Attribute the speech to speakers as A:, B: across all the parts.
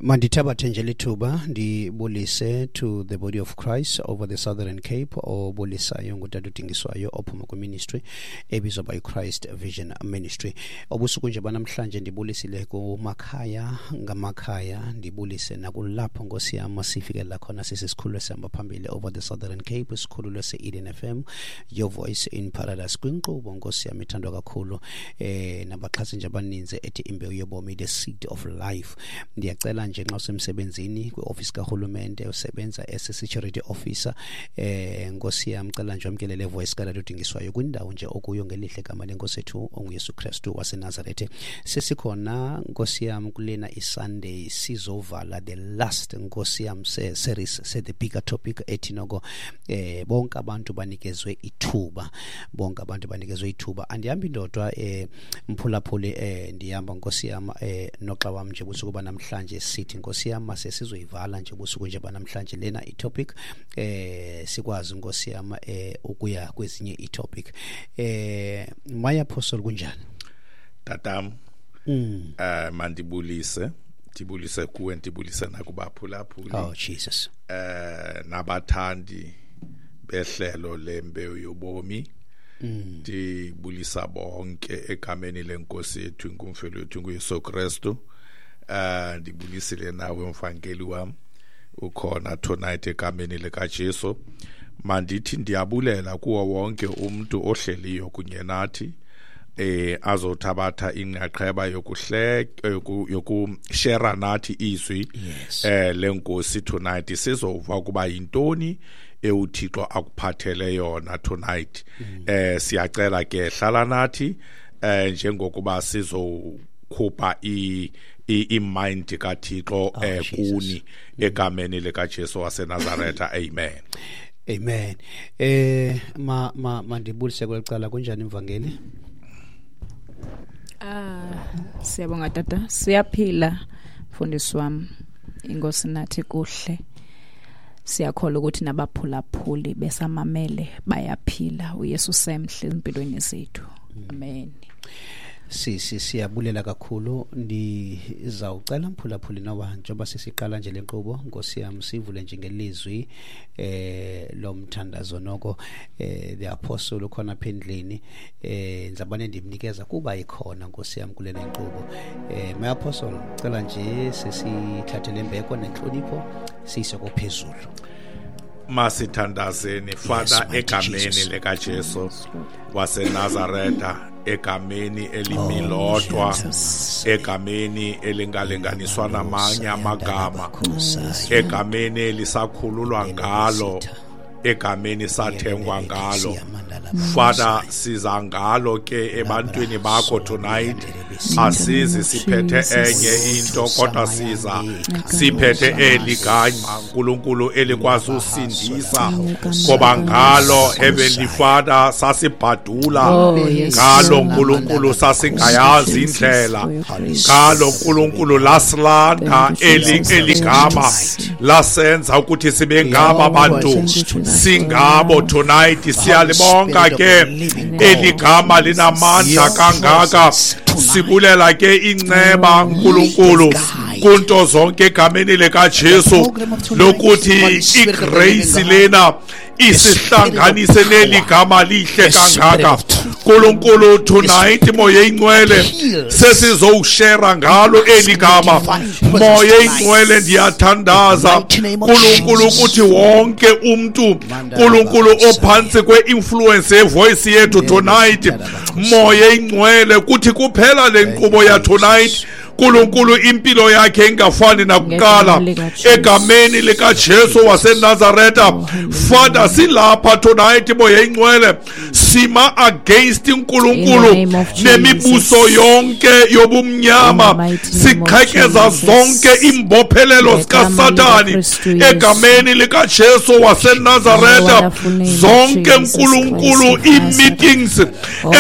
A: Mandithabathe nje lithuba ndibulise to the body of Christ over the Southern Cape, obulisayo ngutata uDingiswayo ophuma kwiministry ebizwa by Christ Vision Ministry. Obusuku nje banamhlanje ndibulisile kumakhaya ngamakhaya, ndibulise nakulapho Nkosi yam sifikelela khona sisikhululo esihamba phambili over the Southern Cape, isikhululo se-Eden FM, Your Voice in Paradise, kwinkqubo Nkosi yam ithandwa kakhulu nabaxhasi nje abaninzi ethi Imbewu Yobomi, the Seed of Life. Ndiyacela nje nxa usemsebenzini kwiofisi karhulumente, usebenza as a security officer, Nkosi yam, cela nje wamkele le voice katata uDingiswayo kwindawo nje okuyo ngelihle gama lenkosi ethu onguYesu Kristu waseNazarethe. Sesikhona Nkosi yam kulena iSunday, sizovala the last Nkosi yam series se the bigger topic ethi noko bonke abantu banikezwe ithuba, bonke abantu banikezwe ithuba. Andihambi ndodwa mphulaphuli, ndihamba Nkosi yam noxa wam nje busuku banamhlanje. Sithi Nkosi yam mase sizoyivala nje busuku nje banamhlanje lena itopic, sikwazi Nkosi yam ukuya kwezinye itopic. My apostle, kunjani
B: tatam? Mandibulise, ndibulise kuwe, ndibulise nakubaphulaphuli.
A: Oh Jesus.
B: Nabathandi behlelo lembewu yobomi. Ndibulisa bonke egameni lenkosi yethu inkumfelo yethu nguYesu Kristu. Ndibulisile nawe mvangeli wam ukhona tonight egameni likaJesu. Mandithi ndiyabulela kuwo wonke umuntu ohleliyo kunye nathi azothabatha inqaqheba yokuhleka yokushare nathi izwi lenkosi tonight. Sizova ukuba yintoni euThixo akuphathele yona tonight. Siyacela ke hlala nathi njengokuba sizokhupha i-mind kaThixo kuni egameni likaJesu waseNazaretha. Amen.
A: Amen. Ma ma mandibulise kwelicala, kunjani mvangeli?
C: Siyabonga tata, siyaphila mfundisi wami. Inkosi nathi kuhle. Siyakholwa ukuthi nabaphulaphuli besamamele bayaphila. uYesu semhle empilweni zethu. Amen.
A: Siyabulela kakhulu. Ndizawucela mphulaphuli noba njengoba sisiqala nje le nkqubo Nkosi yam sivule nje ngelizwi lomthandazo noko the apostle ukhona apha endlini, ndizabane ndimnikeza kuba ikhona Nkosi yam kule nkqubo. My apostle, cela nje sesithathe le mbeko nentlonipho siyise kophezulu.
B: Masithandazeni. Father, egameni likaJesu waseNazaretha, egameni elimilodwa, egameni elingalinganiswa namanye amagama, egameni elisakhululwa ngalo, egameni sathengwa ngalo, Father, siza ngalo ke ebantwini bakho tonight. Asizi siphethe enye into, kodwa siza siphethe eli gama uNkulunkulu elikwazi usindisa, ngoba ngalo, Heavenly Father, sasibhadula ngalo uNkulunkulu, sasingayazi indlela ngalo uNkulunkulu, lasilanda eligama lasenza ukuthi sibe ngaba bantu singabo tonight. Siyalibonga ke eligama linamandla kangaka. Sibulela ke inceba uNkulunkulu kunto zonke egameni likaJesu, lokuthi igrace lena isihlanganise neli gama lihle kangaka uNkulunkulu. Tonight, Moya Ingcwele, sesizowushare ngalo eli gama. Moya Ingcwele, ndiyathandaza uNkulunkulu ukuthi wonke umuntu uNkulunkulu ophantsi kwe-influence yevoice yethu tonight, Moya Ingcwele, kuthi kuphela le nkqubo ya tonight uNkulunkulu impilo yakhe ingafani nakuqala egameni likaJesu waseNazaretha. Father, silapha tonight, Moya Ingcwele, sima against uNkulunkulu nemibuso yonke yobumnyama, siqhekeza zonke imbophelelo zikaSathani egameni likaJesu waseNazaretha. Zonke uNkulunkulu ii-meetings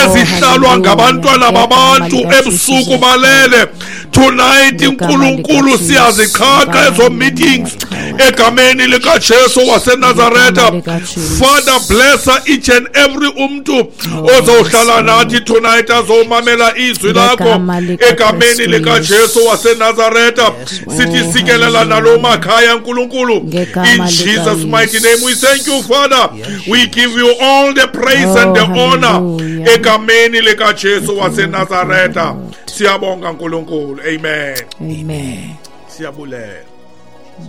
B: ezihlalwa ngabantwana babantu ebusuku balele, tonight uNkulunkulu siyaziqhaqha ezo meetings
D: Egameni likaJesu waseNazaretha.
C: Ngegama likaJesu.
D: Father, bless each and every umntu ozawuhlala nathi tonight, azomamela izwi lakho.
C: Ngegama likaKristu
D: Egameni likaJesu
C: Yesu.
D: waseNazaretha, sithi
C: Oh,
D: sikelela nalo makhaya, nkulunkulu.
C: Ngegama
D: In Jesus
C: likaYesu.
D: mighty name we thank you, Father. We give you all the praise and the
C: Oh,
D: honor.
C: hallelujah.
D: Egameni likaJesu waseNazaretha, siyabonga nkulunkulu. Amen.
C: Amen.
D: Siyabulela.